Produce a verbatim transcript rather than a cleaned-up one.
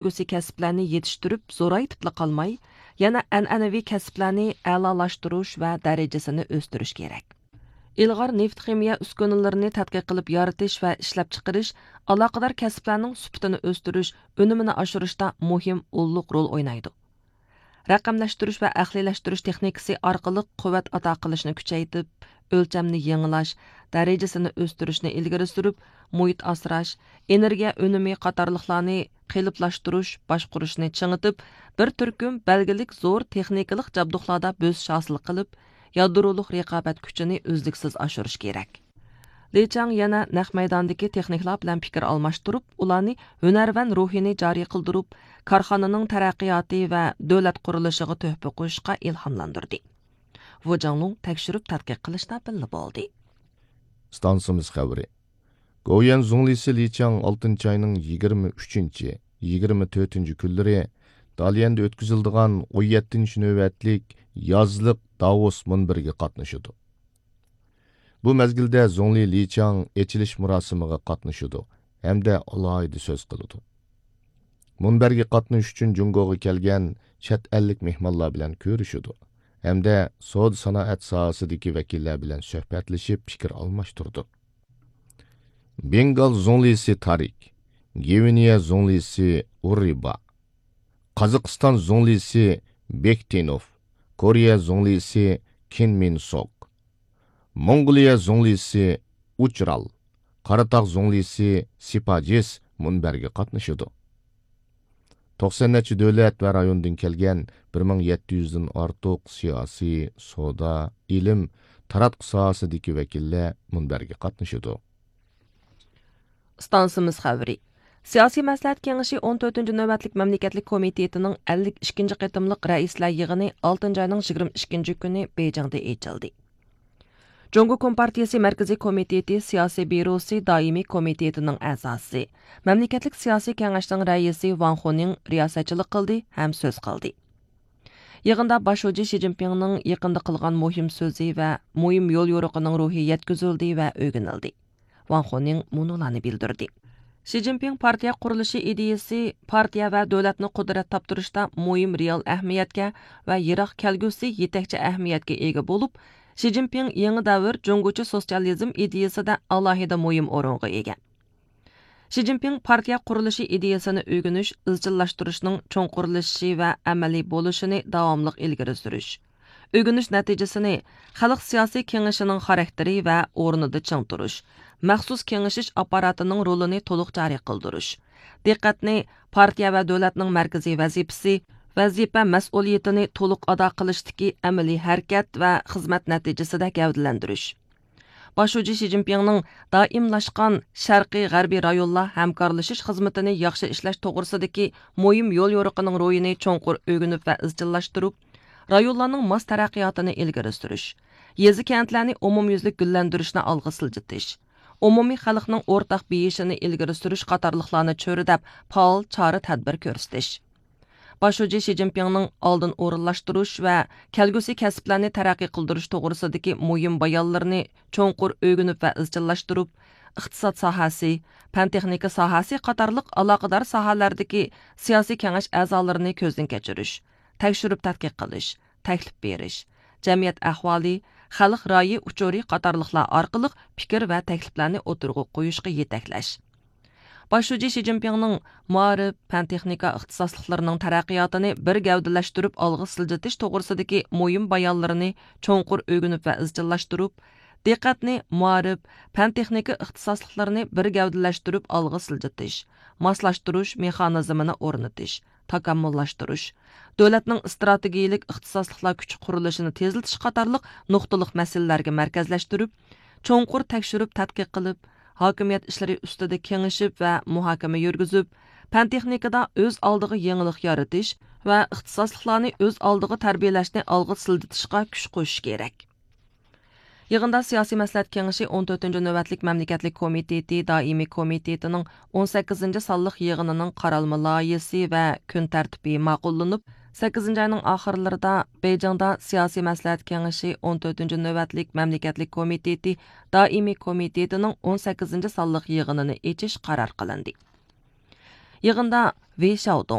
كەلگۈسى كەسىپلەرنى يېتىشتۈرۈپ زورايتىپلا قالماي، يەنە ئەنئەنىۋى كەسىپلەرنى ئەلالاشتۇرۇش ۋە دەرىجىسىنى ئۆستۈرۈش كېرەك. ئىلغار نېفىت خىمىيە ئۈسكۈنىلىرىنى تەتقىق قىلىپ يارىتىش ۋە ئىشلەپچىقىرىش ئالاقىدار كەسىپلەرنىڭ سۈپىتىنى ئۆستۈرۈش، ئۈنۈمىنى ئاشۇرۇشتا مۇھىم ئۇللۇق رول ئوينايدۇ. رەقەملەشتۈرۈش ۋە ئەقلىيلەشتۈرۈش تېخنىكىسى ئارقىلىق قۇۋۋەت ئاتا قىلىشنى كۈچەيتىپ، ئۆلچەمنى يېڭىلاش، دەرىجىسىنى ئۆستۈرۈشنى ئىلگىرى سۈرۈپ، مۇھىت ئاسراش، ئېنېرگىيە ئۈنۈمى قاتارلىقلارنى قېلىپلاشتۇرۇش، باشقۇرۇشنى چىڭىتىپ، بىر تۈركۈم بەلگىلىك زور تېخنىكىلىق جابدۇقلاردا بۆسۈش ھاسىل قىلىپ، يادرولۇق رىقابەت كۈچىنى ئۈزلۈكسىز ئاشۇرۇش كېرەك. لى چاڭ يەنە نەق مەيداندىكى تېخنىكلار بىلەن پىكىر ئالماشتۇرۇپ، ئۇلارنى ھۈنەرۋەن روھىنى جارى قىلدۇرۇپ، كارخانىنىڭ تەرەققىياتى ۋە دۆلەت قۇرۇلۇشىغا تۆھپە قوشۇشقا ئىلھاملاندۇردى. ۋۇ جاڭلۇڭ تەكشۈرۈپ تەتقىق قىلىشتا بىللە بولدى. ئىستانسىمىز خەۋىرى. گوۋۇيۈەن زۇڭلىسى لى چاڭ ئالتىنچى ئاينىڭ يىگىرمە ئۈچىنچى، يىگىرمە تۆتىنچى كۈنلىرى داليەندە ئۆتكۈزۈلىدىغان ئون يەتتىنچى نۆۋەتلىك يازلىق داۋوس مۇنبىرىگە قاتنىشىدۇ. بۇ مەزگىلدە زۇڭلى لى چاڭ ئېچىلىش مۇراسىمىغا قاتنىشىدۇ ھەمدە ئالاھىدە سۆز قىلىدۇ. مۇنبەرگە قاتنىشىش ئۈچۈن جۇڭگوغا كەلگەن چەت ئەللىك مېھمانلار بىلەن كۆرۈشىدۇ ھەمدە سودا سانائەت ساھەسىدىكى ۋەكىللەر بىلەن سۆھبەتلىشىپ پىكىر ئالماشتۇرىدۇ. بېنگال زۇڭلىسى تارىك، گۋىنېيە زۇڭلىسى ئۇررىبا، قازاقىستان زۇڭلىسى بېكتىنوف، كورېيە زۇڭلىسى كىن مىن سوك، موڭغۇلىيە زۇڭلىسى ئۇچرال، قاراتاغ زۇڭلىسى سىپاجىس مۇنبەرگە قاتنىشىدۇ. توقسان نەچچە دۆلەت ۋە رايوندىن كەلگەن بىر مىڭ يەتتە يۈزدىن ئارتۇق سىياسىي، سودا، ئىلىم، تاراتقۇ ساھەسىدىكى ۋەكىللەر مۇنبەرگە قاتنىشىدۇ. ئىستانسىمىز خەۋىرى. سىياسىي مەسلىھەت كېڭىشى ئون تۆتىنچى نۆۋەتلىك مەملىكەتلىك كومىتېتىنىڭ ئەللىك ئىككىنچى قېتىملىق رەئىسلەر يىغىنى ئالتىنچى ئاينىڭ يىگىرمە ئىككىنچى كۈنى بېيجىڭدا ئېچىلدى. جۇڭگو كومپارتىيىسى مەركىزىي كومىتېتى سىياسىي بيۇروسى دائىمىي كومىتېتىنىڭ ئەزاسى، مەملىكەتلىك سىياسىي كېڭەشنىڭ رەئىسى ۋاڭ خۇنىڭ رىياسەتچىلىك قىلدى ھەم سۆز قىلدى. يىغىندا باش شۇجى شى جىنپىڭنىڭ يېقىندا قىلغان مۇھىم سۆزى ۋە مۇھىم يول يورۇقىنىڭ روھى يەتكۈزۈلدى ۋە ئۆگىنىلدى. ۋاڭ خۇنىڭ مۇنۇلارنى بىلدۈردى. شى جىنپىڭ پارتىيە قۇرۇلۇشى ئىدىيىسى، پارتىيە ۋە دۆلەتنى قۇدرەت تاپتۇرۇشتا مۇھىم رېئال ئەھمىيەتكە ۋە يىراق كەلگۈسى يېتەكچى ئەھمىيەتكە ئىگە بولۇپ، شى جىنپىڭ يېڭى دەۋر جۇڭگوچە سوتسىيالىزم ئىدىيىسىدە ئالاھىدە مۇھىم ئورۇنغا ئىگە. شى جىنپىڭ پارتىيە قۇرۇلۇشى ئىدىيىسىنى ئۆگىنىش، ئىزچىللاشتۇرۇشنىڭ چوڭقۇرلىشىشى ۋە ئەمەلىي بولۇشىنى داۋاملىق ئىلگىرى سۈرۈش، ئۆگىنىش نەتىجىسىنى خەلق سىياسىي كېڭىشىنىڭ خاراكتېرى ۋە ئورنىدا چىڭ تۇرۇش، مەخسۇس كېڭىشىش ئاپپاراتىنىڭ رولىنى تولۇق جارى قىلدۇرۇش، دىققەتنى پارتىيە ۋە دۆلەتنىڭ مەركىزىي ۋەزىپىسى، ۋەزىپە مەسئۇلىيىتىنى تولۇق ئادا قىلىشتىكى ئەمەلىي ھەرىكەت ۋە خىزمەت نەتىجىسىدە گەۋدىلەندۈرۈش. باش شۇجى شى جىنپىڭنىڭ دائىملاشقان شەرقىي غەربىي رايونلار ھەمكارلىشىش خىزمىتىنى ياخشى ئىشلەش توغرىسىدىكى مۇھىم يول يورۇقىنىڭ روھىنى چوڭقۇر ئۆگىنىپ ۋە ئىزچىللاشتۇرۇپ، رايونلارنىڭ ماس تەرەققىياتىنى ئىلگىرى سۈرۈش، يېزا كەنتلەرنى ئومۇميۈزلۈك گۈللەندۈرۈشنى ئالغا سىلجىتىش، ئومۇمىي خەلقنىڭ ئورتاق بېيىشىنى ئىلگىرى سۈرۈش قاتارلىقلارنى چۆرىدەپ، پائال چارە تەدبىر كۆرسىتىش. باش شۇجى شى جىنپىڭنىڭ ئالدىن ئورۇنلاشتۇرۇش ۋە كەلگۈسى كەسىپلەرنى تەرەققىي قىلدۇرۇش توغرىسىدىكى مۇھىم بايانلىرىنى چوڭقۇر ئۆگىنىپ ۋە ئىزچىللاشتۇرۇپ، ئىقتىساد ساھەسى، پەن تېخنىكا ساھەسى قاتارلىق ئالاقىدار ساھەلەردىكى سىياسىي كېڭەش ئەزالىرىنى كۆزدىن كەچۈرۈش، تەكشۈرۈپ تەتقىق قىلىش، تەكلىپ بېرىش، جەمئىيەت ئەھۋالى، خەلق رايى ئۇچۇرى قاتارلىقلار ئارقىلىق پىكىر ۋە تەكلىپلەرنى ئوتتۇرىغا قويۇشقا يېتەكلەش. باش شۇجى شى جىنپىڭنىڭ مائارىپ، پەن تېخنىكا ئىختىساسلىقلىرىنىڭ تەرەققىياتىنى بىر گەۋدىلەشتۈرۈپ ئالغا سىلجىتىش توغرىسىدىكى مۇھىم بايانلىرىنى چوڭقۇر ئۆگىنىپ ۋە ئىزچىللاشتۇرۇپ، دىققەتنى مائارىپ، پەن تېخنىكا ئىختىساسلىقلىرىنى بىر گەۋدىلەشتۈرۈپ ئالغا سىلجىتىش، ماسلاشتۇرۇش مېخانىزمىنى ئورنىتىش، تاكامۇللاشتۇرۇش، دۆلەتنىڭ ئىستراتېگىيىلىك ئىختىساسلىقلار كۈچى قۇرۇلۇشىنى تېزلىتىش قاتارلىق نۇقتىلىق مەسىلىلەرگە مەركەزلەشتۈرۈپ، چوڭقۇر تەكشۈرۈپ تەتقىق قىلىپ، ھاكىمىيەت ئىشلىرى ئۈستىدە كېڭىشىپ ۋە مۇھاكىمە يۈرگۈزۈپ، پەن تېخنىكىدا ئۆز ئالدىغا يېڭىلىق يارىتىش ۋە ئىختىساسلىقلارنى ئۆز ئالدىغا تەربىيەلەشنى ئالغا سىلجىتىشقا كۈچ قوشۇش كېرەك. يىغىندا سىياسىي مەسلىھەت كېڭىشى ئون تۆتىنچى نۆۋەتلىك مەملىكەتلىك كومىتېتى دائىمىي كومىتېتىنىڭ ئون سەككىزىنچى سانلىق يىغىنىنىڭ قارالما لايىھىسى ۋە كۈن تەرتىپى ماقۇللىنىپ، سەككىزىنچى ئاينىڭ ئاخىرلىرىدا بېيجىڭدا سىياسىي مەسلىھەت كېڭىشى ئون تۆتىنچى نۆۋەتلىك مەملىكەتلىك كومىتېتى دائىمىي كومىتېتىنىڭ ئون سەككىزىنچى سانلىق يىغىنىنى ئېچىش قارار قىلىندى. يىغىندا ۋېي شياۋدۇڭ.